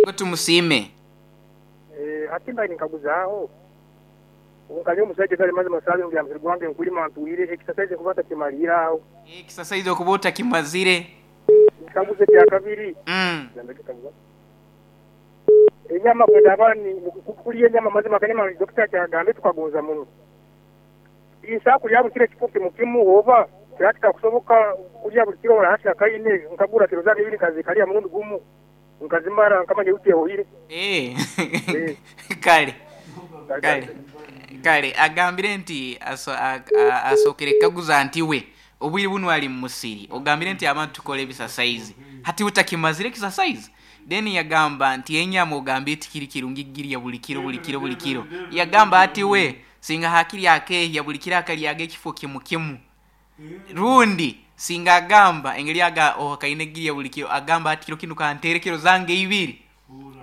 Ego, tumusiime. Hati mbaire ninkaguzaaho, nka nyowe omusaija gali mazima saaha zinu musiri gwange nkulima ntwire, ekisasaizi nkuba ntakimaliire aho. Ekisasaizi okuba otakimazire. Ekikaguzo ekyakabiri, enyama bwendaaba kulya enyama mazima akanyama dokita akyagambye tukagonza muno. Nsobola kulya buli kiro ekifo kimu kimu oba kiraba kitakusoboka kulya buli kiro hati akaine nkagura kiro zange ibiri nkazikalya murundi gumu nkazimara nkamanya wiiki ehoire. Kale, kale, kale agambire nti asookere kukaguza nti we obwire bunu ali mu musiri ogambire nti abantu tukora ebisasaizi hati we takimazire ekisasaizi? Then yagamba nti enyama ogambire tikiri kirungi kugirya buli kiro buli kiro buli kiro. Yagamba ati we singa hakiri akeehya buli kiro akalyaga ekifo kimu kimu. Rundi singa agamba engeri ohakaine kugirya buli kiro agamba ati kiro kinu kantere kiro zange ibiri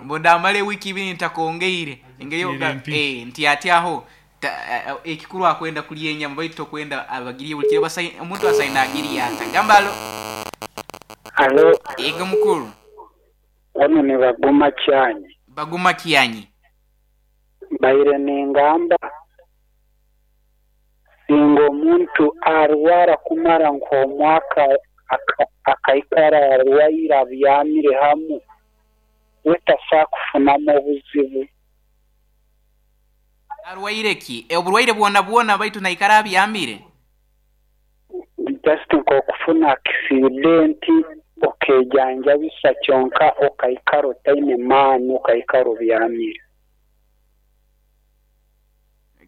mbu ndamara ewiiki ibiri ntakongeire engeri nti ati aho ekikuru akwenda kulya enyama baitu tokwenda abagirye buli kiro omuntu asaine agirya ata. Gamba alo. Alo. Ego mukulu. Wano ni Baguma Kyanyi. Baguma Kyanyi. Mbaire ningamba singa omuntu arwara kumara nk'omwaka akaikara arwaire abyamire hamu, we tasobola kufunamu obuzibu. Arwaire ki? Oburwaire bwona bwona baitu naikara abyamire? Just nk'okufuna akisidenti okejanjabisa kyonka okaikara otaine maani okaikara obyamire.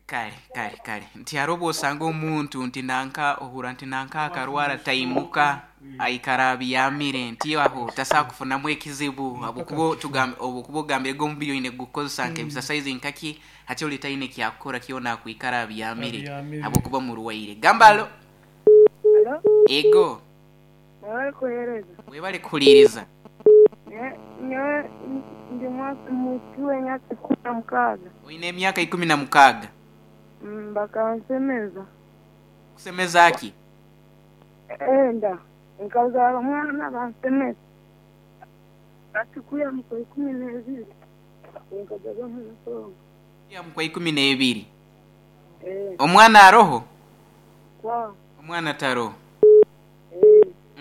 Kale, kale, kale. Nti hariho obwosanga omuntu nti nanka ohurra nti nanka akarwara taimuka aikara abyamire nti aho tasobola kufunamu ekizibu habwokuba ogambire gwe omubiri oine kugukozesa nk'ebisasaizi nkaki hati ori taine kyakukora kyona akwikara abyamire habwokuba murwaire. Gamba alo. Alo. Ego. Webale kuhereza. Webale kuhuliriza. Nyowe ndi mwishiki w'emyaka 16. Oine emyaka 16. Bakansemeza. Kusemeza ki? Enda. Nkazaara omwana bansemeza. Hati kwiha mu kwa 12 nkajaga omu nsonga. Kwiha mu kwa 12? Omwana aroho? Kwa. Omwana taroho.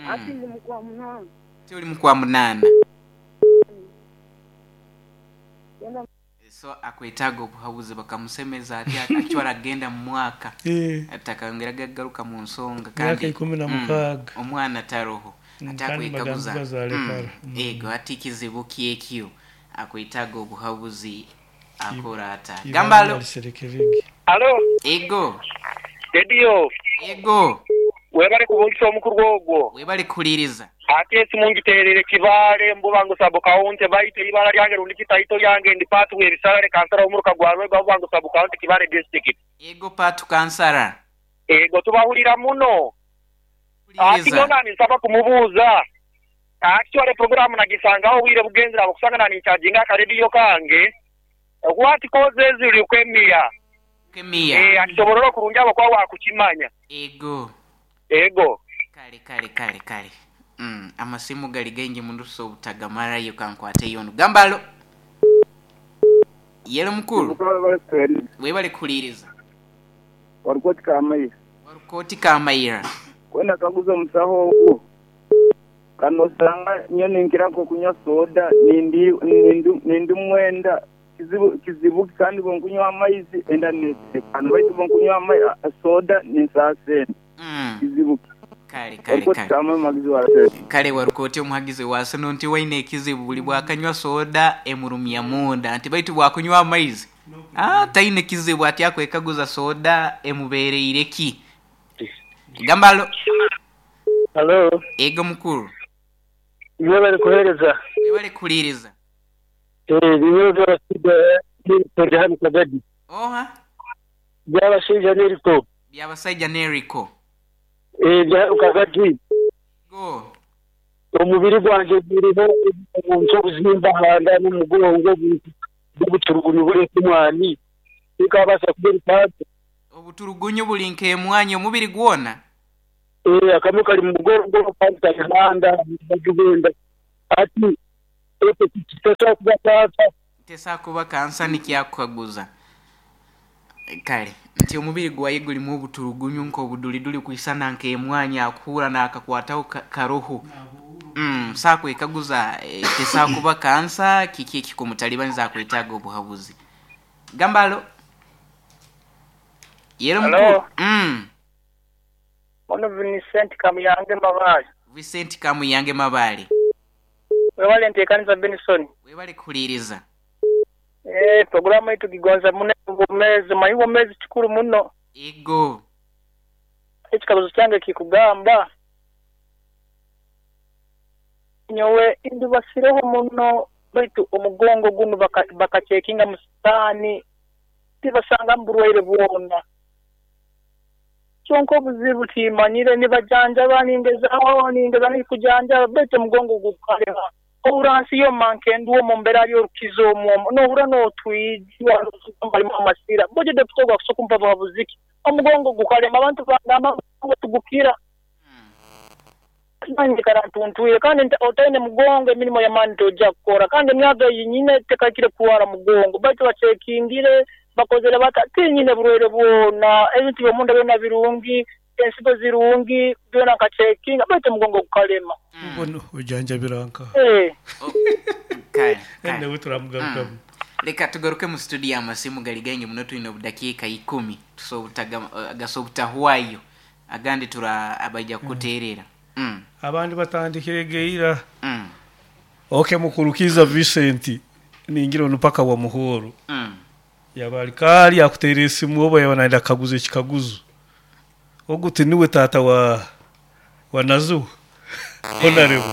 Hati ndi mu kwa 8. Hati oli mu kwa 8. So akwetaaga obuhabuzi bakamusemeza ati acwara agenda mu mwaka atakayongera gagaruka mu nsonga kandi omwana taroho ati akwekaguza ego ati kizibu kyekyo akwetaaga obuhabuzi akora ata. Gamba alo. Alo. Ego. Edio. Ego. Webale kubungisa omukuru ogwo. Webale kuhuliriza. Ate esimu ngiterere Kibaale Mbubango sub county baitu ibara lyange rundi kitaito lyange ndi patu w'ebisale kansara omuruka gwa Rwego Bubango sub county Kibaale district. Ego patu kansara. Ego tubahulira muno. Ati nona nisaba kumubuuza. Actually programu nagisangaho obwire bugenzera abakusanga nani ncharginga akaredio kange. What causes leukemia? Leukemia. Akisoborora kurungi abakwa wakukimanya. Ego. Ego. Kale kale kale kale. Amasimu gali gaingi munduso obutagamarayo kankwate yono. Gamba alo. Yelo mukulu. Webale kuhuliriza. Warukoti Kamayira. Warukoti Kamayira. Kwenda kaguza omusaho ogwo. Kano osanga nyo ninkira nkokunywa soda nindi mwenda kizibu kandi bwonkunywa amaizi enda netekana baitu bwonkunywa soda ninsaasenda. Kizibu. Kale kale kale. Kale warukoti omuhagizi wasono nti waine ekizibu buli bwakanywa soda emurumya munda nti baitu bwakunywa amaizi taine kizibu ati akwekaguza soda emubereire ki. Gamba alo. Alo. Ego mukulu. Webale kuhereza. Webale kuhuliriza. Oha. Byabashaija Neriko. Byabashaija Neriko. Kagadi. Go. Omubiri gwange guriho omuntu obuzimba handa n'omugongo bw'obuturugunyu buri nk'emwani. Bikabasa kuba obuturugunyu buri nk'emwani omubiri gwona. Akamwe kari mu mugongo kandi kari handa bagenda. Ati Tesobola kuba kansa. Tesobola kuba kansa nikyo akukaguza. Kale nti omubiri gwaye gulimu obuturugunyu nk'obuduliduli kwisana nk'emwanya akuhurra naakakwataho karoho. So akwekaguza tesobola kuba kansa kiki ekikumutalibaniza akwetaaga obuhabuzi. Gamba alo. Yero mukuru. Halo. Ono Vincent Kamuyange Mabaale. Vincent Kamuyange Mabaale. Webale ntekaniza Benson. Webale kuhuliiriza. Eeh puroguramu eyi tugigonza muno ey'obwomezi, omanyi obwomezi kikuru muno. Ego. Ekikaguzo kyange kikugamba, nyowe ndubasireho muno baitu omugongo gunu bakacekinga mu sikaani tibasangamu burwaire bwona. Kyonka obuzibu timanyire nibajanjaba ningezaho ningezaho kujanjaba baitu omugongo gukalema. Ohurra nsi yoma nkendu omu mbera y'orukizo omu omu nohurra notwijwa halimu amasira. Bojo dokita ogu akusobola kumpa buhabuzi ki? Omugongo gukalema abantu bagamba omugongo tigukira. Nanye nyikara ntuntwire kandi otaine mugongo emirimo y'amaani tojja kukora kandi emyaka eyi nyine tekahikire kurwara mugongo baitu bacekingire bakozere bata tinyine burwaire bwona ebintu by'omunda byona birungi ensigo zirungi byona nkacekinga baitu omugongo gukalema. Obu ojanjabira nkaha? Eh. Kale, kale. Nawe turamugarukamu. Leka tugaruke mu studio amasimu gali gaingi muno twine obudakiika ikumi gasobola obutahwayo agandi tura abaija kukuteerera. Abandi batandikire geira. Ok mukuru Kiiza Vincent ningira onu paka wa Muhoro. Yaba ali kaali akuteera esimu oba yaba nayenda kukaguza ekikaguzo. Ogu tinuwe taata wa Nazuha Honorable.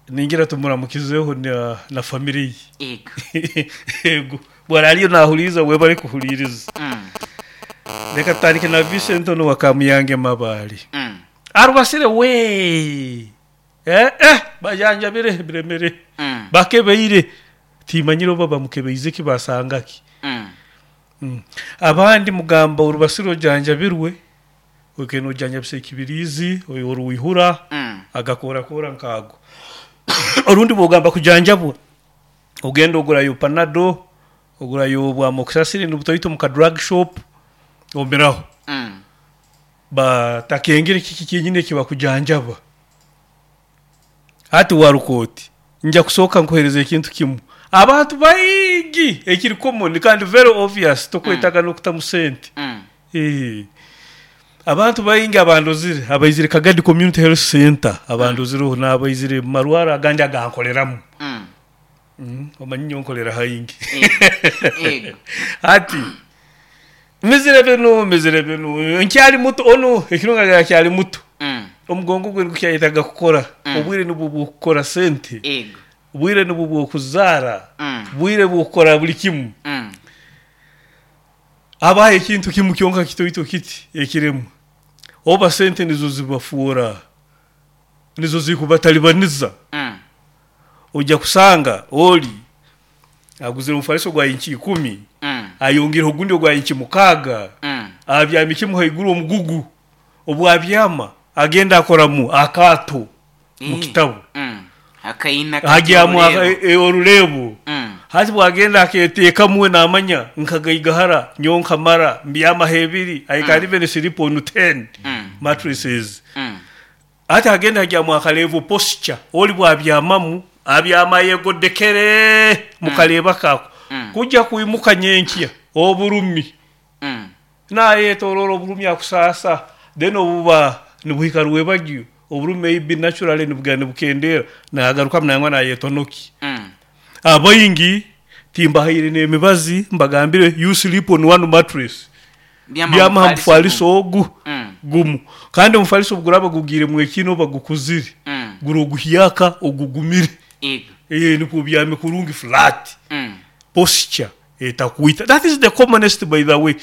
Ningira tumuramukizeho na family ye. Ego. Bwara aliyo nahuliiriza webale kuhuliiriza. Leka tutandike na Vincent onu wa Kamuyange Mabaale. Arubasire we! Bajanjabire biremere. Bakebeire. Timanyire oba bamukebeize ki basanga ki. Abandi mugamba orubasire ojanjabirwe, oikaire nojanjabisa ekibiriizi, orwihura, agakorakora nk'ago. Orundi bwogamba kujanjabwa, ogenda ogurayo panado, ogurayo obwa amoxicillin obutoito omu ka drug shop, omiraho. Batakengere kiki kyenyini ekibakujanjaba. Hati waruka oti, nja kusooka nkuheereze ekintu kimu. Abantu baingi ekiri common kandi very obvious tokwetaaga n'okutamu sente. Abantu baingi abandozire abaizire Kagadi Community Health Centre abandozireho n'abaizire mu marwaro agandi agankoreramu. Omanyi nyowe nkorera haingi. Hati mizire binu, mizire binu, nkyali muto, onu ekirungi agira akyali muto. Omugongo gwe nigukyayetaaga kukora, obwire nibwo bw'okukora sente, obwire nibwo bw'okuzaara, bwire bw'okukora buri kimu. Habaho ekintu kimu kyonka kitoito kiti ekiremwa, oba sente nizo zibafoora, nizo zikubatalibaniza. Oija kusanga ori aguzire omufaliso gwa inchi ikumi, ayongireho ogundi ogwa inchi mukaaga, abyami kimu haiguru omugugu. Obu abyama agenda akoramu akaato mu kitabu. Agyamu orureebo. Hati bwagenda aketeekamu we naamanya nkagaigahara nyowe nkamara mbyamaho ebiri, I can even sleep on ten mattresses. Hati agenda agyamu akareebo posture, ori bwabyamamu abyama ayegodekere mu kareebo ako. Kugya kwimuka nyenkya oburumi. Nayetoroora oburumi akusaasa then obuba nibuhika rwebagyo oburumi maybe naturally nibugenda nibukendeera nagarukamu nangwa nayetonoki. Abaingi timbahaire n'emibazi mbagambire you sleep on one mattress byama aha mufaliso ogu gumu kandi omufaliso obuguraaba gugiiremu ekiina oba gukuzire gura oguhyaka ogugumire nikwo obyame kurungi flat posture. Etakwita that is the commonest by the way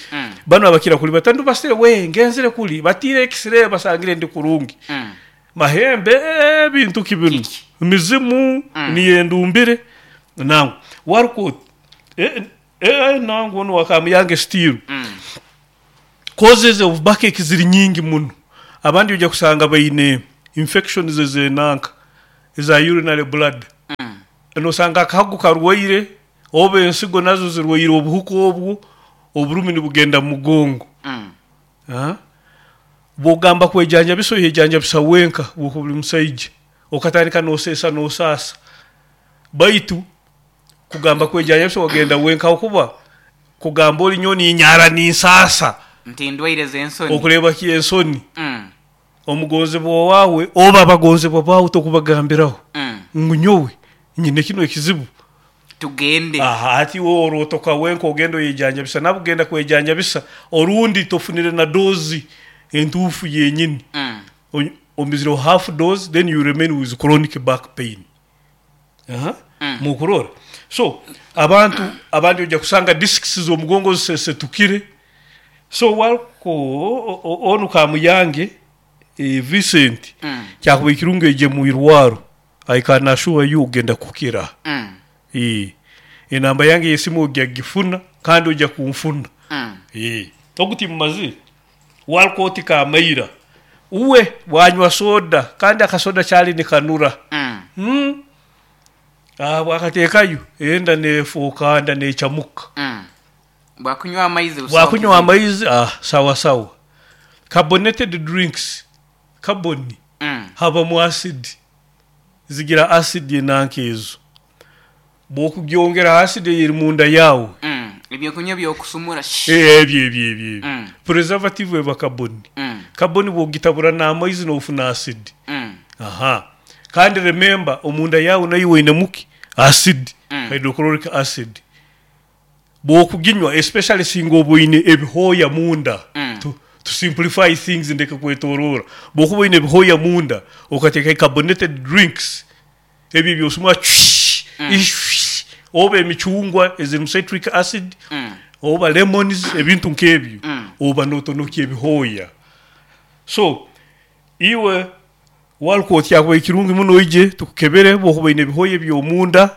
banu abakira kuri bati ndubasire wee ngenzire kuri batiire x-ray basangire ndi kurungi mahembe eeh bintu ki binu mizimu niyo endumbire nangwa waruka oti eeh nangwa onu wa Kamuyange still causes of backache ziri nyingi muno abandi oija kusanga baine infections ez'enanka. eza urinary bladder. Nosanga akahago karwaire oba ensigo nazo zirwaire obuhuka obwo, oburumi nibugenda mu mugongo. Bwogamba kwejanjabisa oyejanjabisa wenka bwokuba ori musaija okatandika noseesa nosaasa baitu kugamba kwejanjabisa wagenda wenka ahabw'okuba kugamba ori nyowe ninyara ninsaasa Nti ndwaire z'ensoni. Okureeba ki ensoni? Omugonzebwa owaawe oba abagonzebwa baawe tokubagambiraho ngu nyowe nyine kinu ekizibu. Tugende. Aha, hati iwe orootoka wenka ogenda oyejanjabisa. Nabwo genda kwejanjabisa orundi tofunire na doozi entuufu yenyini. Omizireho half dose then you remain with chronic back pain. Aha, mukurora? So abantu abandi oija kusanga discs z'omugongo zisesetukire. So warko onu Kamuyange Vincent kyakubaire kirungi oije mwirwaro. I can assure you ogenda kukira. Eeh enamba yange eyesimu oja gifuna kandi oja kunfuna. Eeh ogu timumazire Walcott Kamaira uwe bwanywa soda kandi akasoda kyali nikanura. Umm bwakatekayo enda nefuuka nda nechamuka. Bwakunywa amaizi busaho Bwakunywa kizibu. amaizi sawa sawa. Carbonated drinks carbon habamu acid, zigira acid enanka ezo. Bwokugyongera ha acid eyeri munda yawe. Ebyokunywa ebyokusumura. Ebyo ebyo ebyo ebyo. Preservative eba carbon. Carbon bwogitabura n'amaizi nofuna acid. Aha. Kandi remember omunda yawe naiwe oinemu ki? Acid, hydrochloric acid. Bwokuginywa especially singa oba oine ebihooya munda, to to simplify things ndeke kwetoroora, bwokuba oine ebihooya munda okateeka carbonated drinks ebyo ebyosumura cwii ishwii oba emicungwa ezirimu citric acid oba lemons ebintu nk'ebyo oba notonokya ebihooya. So iwe Walcott kyakubaire kirungi muno oije tukukebere bwokuba oine ebihooya eby'omunda.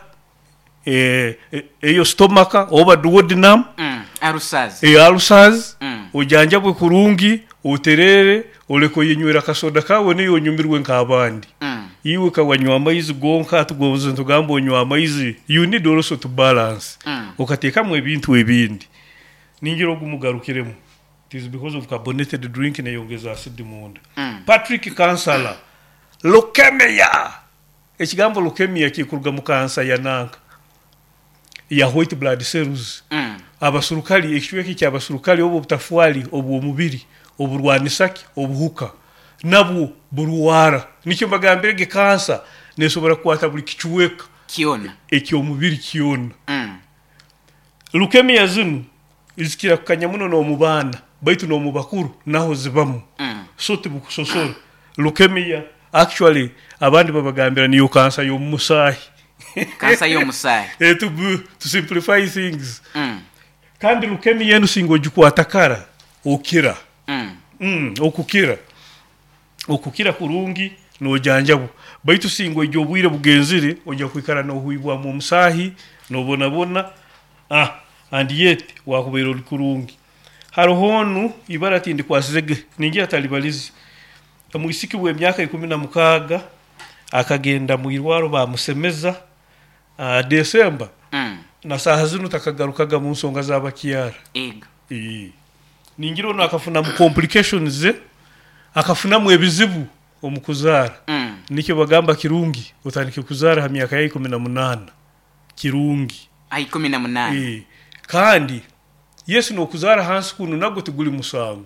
Eyo stomach oba duodenum, Ulcers. Ulcers, ojanjabwe kurungi, oterere, oleke oyenywere akasoda kawe naiwe onyumirwe nk'abandi. Iwe ka wanywa amaizi gonka tugonze nitugamba onywe amaizi, you need also to balance, okatekamu ebintu ebindi. Ningira ogu mugarukiremu. It is because of carbonated drink neyongeza acid munda. Patrick Kansala, Leukemia! Ekigambo leukemia kikuruga mu kansa ya nanka ya white blood cells. Abasurukali, ekicweka eky'abasurukali oba obutafwali obw'omubiri oburwanisa ki? Obuhuka. Nabwo burwara. Nikyo mbagambire ge kansa nesobora kukwata buli kicweka Kyona. eky'omubiri kyona. Leukemia zinu zikira kukanya muno n'omu baana baitu n'omu bakuru naho zibamu. So tibukusosora. Leukemia actually abandi babagambira niyo kansa y'omu musaahi. Kansa y'omusaahi. To simplify things. Kandi leukemia enu singa ogikwata kara okira. Okukira. Okukira kurungi nojanjabwa. Baitu singa oija obwire bugenzire oija kwikara nohwibwamu omusaahi, nobonabona and yet wakubaire ori kurungi. Haroho onu ibara tindikwasize ge, ningira talibalize. Omwisiki w'emyaka 16 akagenda mwirwaro bamusemeza December na saaha zinu takagarukaga mu nsonga z'abakyara. Ego. Ningira onu akafunamu complications, akafunamu ebizibu omu kuzaara. Nikyo bagamba kirungi otandike kuzaara ha myaka ya 18. Kirungi. Aha 18. Kandi yes n'okuzaara hansi kunu nagwo tiguli musango.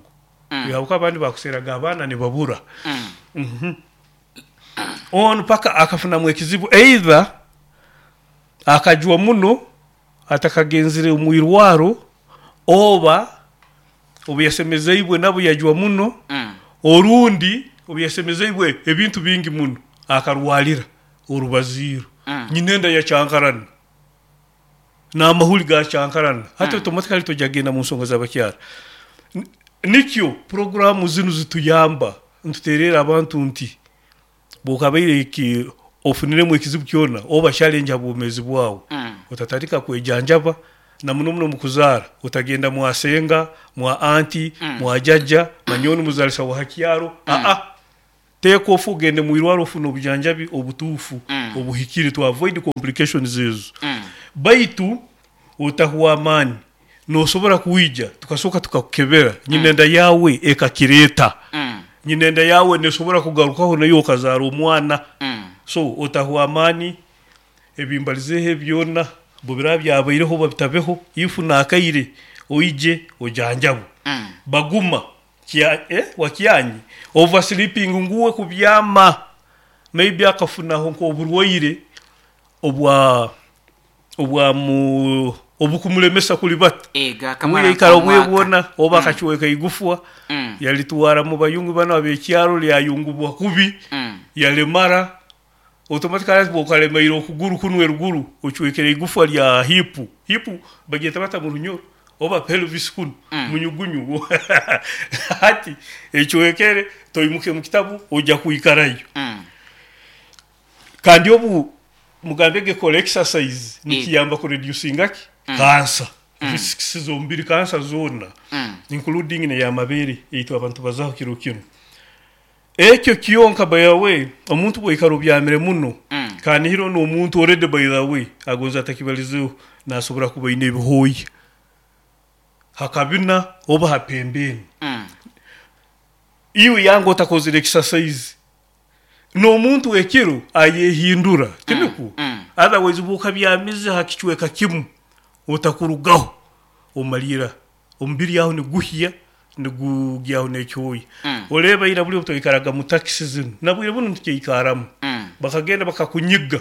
Habwokuba abandi bakuseeraga abaana nibabura. Onu paka akafunamu ekizibu either akajwa muno atakagenzire omu irwaro oba obu yasemezeibwe nabwo yajwa muno orundi obu yasemezeibwe ebintu bingi muno akarwalira orubaziiro nyina enda yakyankarana n'amahuri gakyankarana hati automatically toija kugenda mu nsonga z'abakyara. Nikyo puroguramu zinu zituyamba nitutereera abantu nti bwokabaire ofuniremu ekizibu kyona oba challenge ha bwomeezi bwawe, otatandika kwejanjaba na muno muno omu kuzaara, otagenda mwa senga, mwa anti, mwa jajja, manya onu muzaalisa wa ha kyaro, aa. Take off ogende mu irwaro ofune obujanjabi obutuufu obuhikire to avoid complications ezo. Baitu otahwa amaani, nosobora kwija tukasooka tukakukebera nyinenda yaawe ekakireeta. Nyinenda yaawe nesobora kugarukaho naiwe okazaara omwana. So otahwa amaani, ebimbalizeeho ebi byona bubiraba byabaireho oba bitabeho, if nakaire oije ojanjabwe. Baguma Kya eh wakyanyi over sleeping ngu we kubyama maybe akafunaho nk'oburwaire obwa obwa mu obukumulemesa kulibata Ego we akamara yaikara obwire nk'omwaka. bwona oba akacweka igufwa yalitwara mu bayungu banu ab'ekyaro lyayungubwa kubi yalemara Automatically hati bwokaremaire okuguru kunu eruguru ocwekere igufwa lya hip, hip bagyeta bata mu Runyoro oba pelvis kunu munyugunyu hati ecwekere toimuke mu kitabu oja kwikarayo. Kandi obu mugambege kora exercise nikiyamba ku reducinga ki? Cancer, risks z'omubiri cancer zoona including n'eyamabere eitwe abantu tubazaho kiro kinu. Ekyo kyonka by the way omuntu bwoikara obyamire muno kanihira onu omuntu already by the way agonze atakibalizeho nasobora kuba aine ebihooya hakabina oba hapembeni iwe yanga otakozire exercise nomuntu ekiro ayehindura tinikwo otherwise bwokabyamize hakicweka kimu otakurugaho omalira Omubiri aho niguhya, nigugyaho n'ekyoya. Oreeba ira buri obu twaikaraga mu takisi zinu, na bwire bunu nitukyaikarramu, bakagenda bakakunyiga.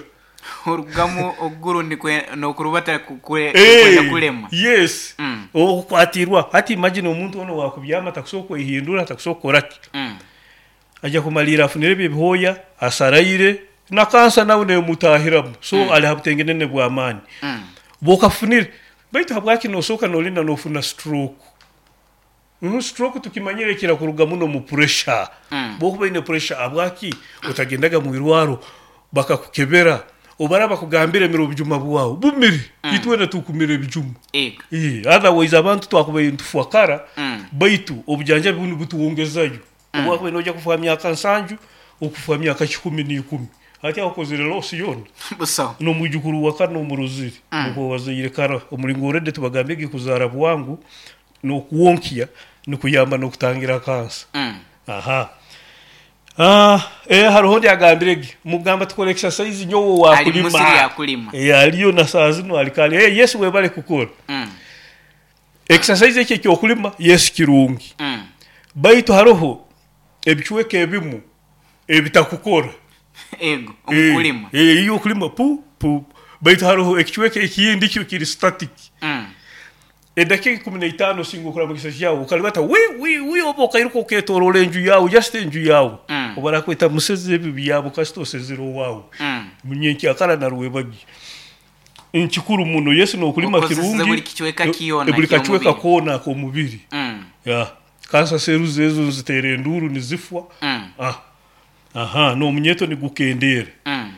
Orugamu okuguru n'okurubata kwenda kulema. Yes, okukwatirwa. Hati imagine omuntu onu owakubyama atakusobora kwehindura, atakusobora kukora ki? Aija kumaliira afunire ebi ebihooya, asaraire, na kansa nawe nemutahiramu. So ali ha butengenene bw'amaani. Bwokafunire, Baitu habwaki nosooka nolinda nofuna stroke? Stroke tukimanyire ekira kuruga muno mu pressure. Bwokuba oine pressure habwaki otagendaga mwirwaro bakakukebera obaraba bakugambire mira obujuma bwawe bumire. Itwena tukumira ebijuma. Otherwise abantu twakubaire nitufwa kara baitu obujanjabi bunu butwongezayo. Obwakubaire noija kufa ha myaka nsanju, okufa ha myaka kikumi n'ikumi. Hati aho okozire loss yoona? Busaho. N'omwijukuru wa kana omurozire, nukwo wazaire kara. Omulingo already tubagambye kuzaara bwangu n'okwonkya nikuyamba n'okutangira kansa. Aha. Haroho ondi agambire ge, mugamba tukore exercise nyowe Ali mu musiri owakulima. akulima. Aliyo na saaha zinu ali kare. Yes webale kukora. Exercise eki eky'okulima yes kirungi baitu haroho ebicweka ebimu ebitakukora. Ego, omu kulima. Iwe okulima pu pu baitu haroho ekicweka ekindi kyo kiri static. Edakika ikumi naitano osinga okuraba omu kisasi kyawe okalibata wi wi wi oba okairuka oketoroora enju yaawe just enju yaawe. Obarakweta musezi ebi byabo kasita osezire owaawe. Nyenkyakara narwebagyo. Nkikuru muno. Yesu n'okulima Okozeseze kirungi buli kicweka kyona buli kacweka eky'omubiri. koona ak'omubiri. Yeah. Kansa seruzi ezo niziteera enduuru nizifwa. Ah. Aha, n'omunyeeto nigukendeera.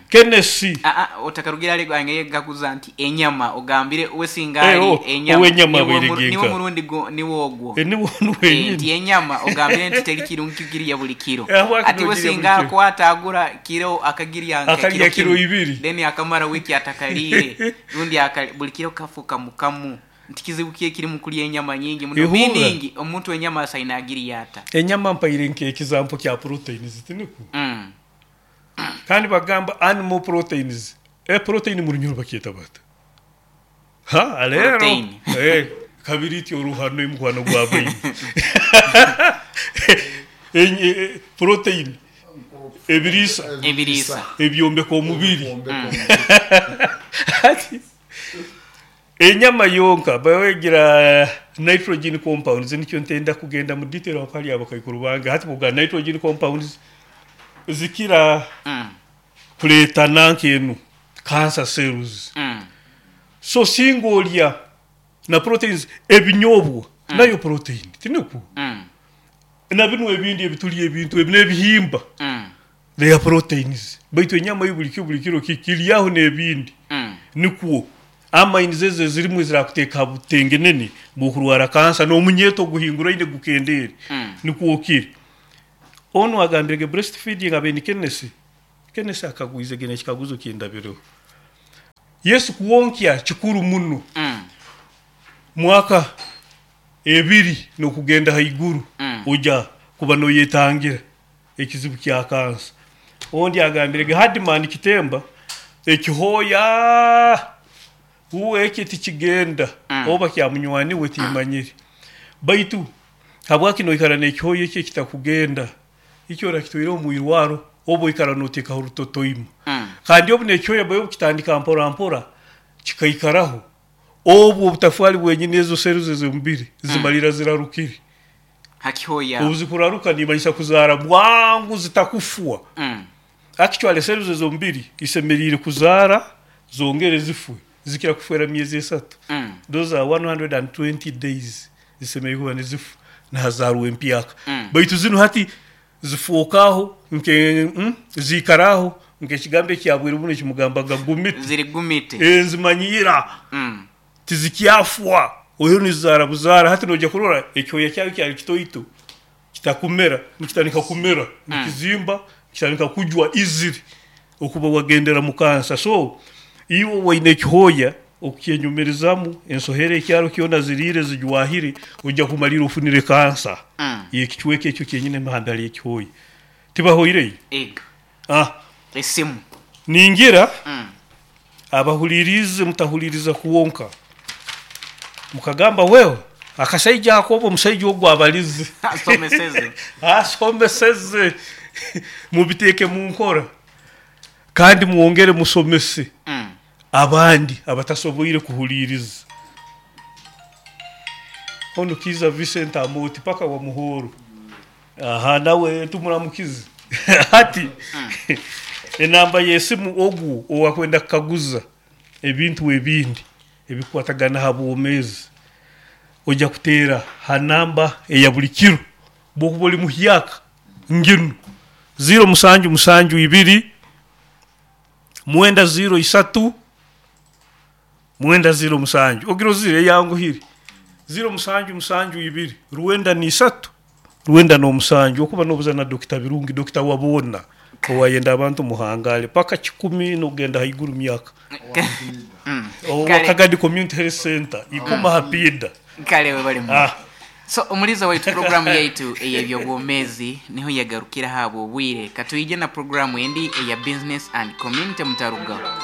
Kenneth. Aa, otakarugire hare gwange nkakuza nti enyama ogambire we singa Eh, ali oh, enyama ow'enyama niwe abaire niwe genka. murundi niwe ogwo. Eh, niwe onu Eh, wenyini. nti enyama ogambire nti teri kirungi kugirya buli kiro. Eh, habwaki Ati we nogirya buli singa kiro? akwata agura kiro akagirya nka Akalya kiro kiro kimu ibiri. then akamara wiiki atakaliire rundi buli kiro kafuka mukamu. Nti kizibu ki ekiri mu kulya enyama nyingi muno? Ihurra. Meaning omuntu enyama asaine agirya ata? Enyama mpaire nk'ekizampo kya proteins, tinikwo? Kandi bagamba animal proteins. E protein mu Runyoro bakyeta bata? Ha, leero. Protein. Eh, kabiri iti oruhano omukwano gwa baine. Protein ebiriisa Ebiriisa. ebyombeka omubiri. Hati enyama yonka bawegira nitrogen compounds nikyo ntenda kugenda mu detail aho hali abakaikuru bange. Hati bwoga nitrogen compounds zikira kureeta nanka enu cancer cells. So singa olya na proteins ebinyobwa nayo protein tinikwo? Na binu ebindi ebitulya ebintu ebi n'ebihimba they are proteins baitu enyama yo buli buli kiro kiryaho n'ebindi nikwo amines ezo ezirimu ezirakuteeka ha butengenene bw'okurwara kansa n'omunyeeto oguhinguraine gukendeere nikwo kiri. Onu agambirege breast feeding abe ni Kenneth. Kenneth akagwizege n'ekikaguzo kindabireho. Yesu kuwonkya kikuru muno. Mwaka 2 n'okugenda haiguru oja kuba noyetangira ekizibu kya kansa. Ondi agambirege Hardman Kitemba ekihooya uwe eki tikigenda oba kya munywani we timanyire. Baitu habwaki noikara n'ekihooya eki ekitakugenda? Ikyo orakitwaireho omu irwaro oba oikara noteekaho rutotoima. Kandi obu n'ekihooya baitu kitandika mpora mpora kikaikaraho, obu obutafwali bwenyini ezo cells ez'omubiri zimalira zirarukire. Hakihooya. Obu zikuraruka nimanyisa kuzaara bwangu zitakufwa. Actually cells ez'omubiri isemeriire kuzaara zongere zifwe, zikira kufwera myezi 3. Those are 120 days zisemeriire kuba nizifwa nihazaarwa empyaka. Baitu zinu hati zifwokaho nke ziikaraho nk'ekigambo ekyabwire bunu ekimugambaga gumite. Ziri gumite. Nzimanyiira. Tizikyafwa. Oihireho nizizaara buzaara. Hati noija kurora ekihooya kyayo kyali kitoito kitakumera, nikitandika kumera, nikizimba, nikitandika kujwa easily okuba wagendera mu kansa. So iwe owaine ekihooya okukyenyumirizamu ensohera ekyaro kyona ziriire zijwahire, oija kumalira ofunire kansa y'ekicweka ekyo kyenyini emihanda hali ekihooya. Tibahoireyo? Ego. Ah. Esimu. Ningira abahuliriize mutahuliriza kwonka mukagamba well akasaija ako oba omusaija ogu abalize Asomeseze. Asomeseze. Mubiteeke mu nkora kandi mwongere musomese abandi abatasoboire kuhuliiriza. Onu Kiiza Vincent Amooti paka wa Muhoro. Aha nawe tumuramukize. Hati enamba y'esimu ogu owakwenda kukaguza ebintu ebindi ebikukwatagana ha bwomeezi oija kuteera ha namba eya buli kiro bwokuba oli muhyaka nginu 0 7 7 2 9 0 3 9 0 7 ogirozire eyanguhire 0 7 7 2 93 97 okuba nobuza na Dokita Birungi Dokita wa boona owayenda abantu muhangale paka kikumi nokugenda haiguru myaka owa Kagadi Community Health Center ikuma ha piida. Kale webale muno. So omuliza waitu programu yaitu ey'ebyobwomeezi niho yagarukira ahabw'obwire. Katwije na programu endi eya Business and Community mutarugaho.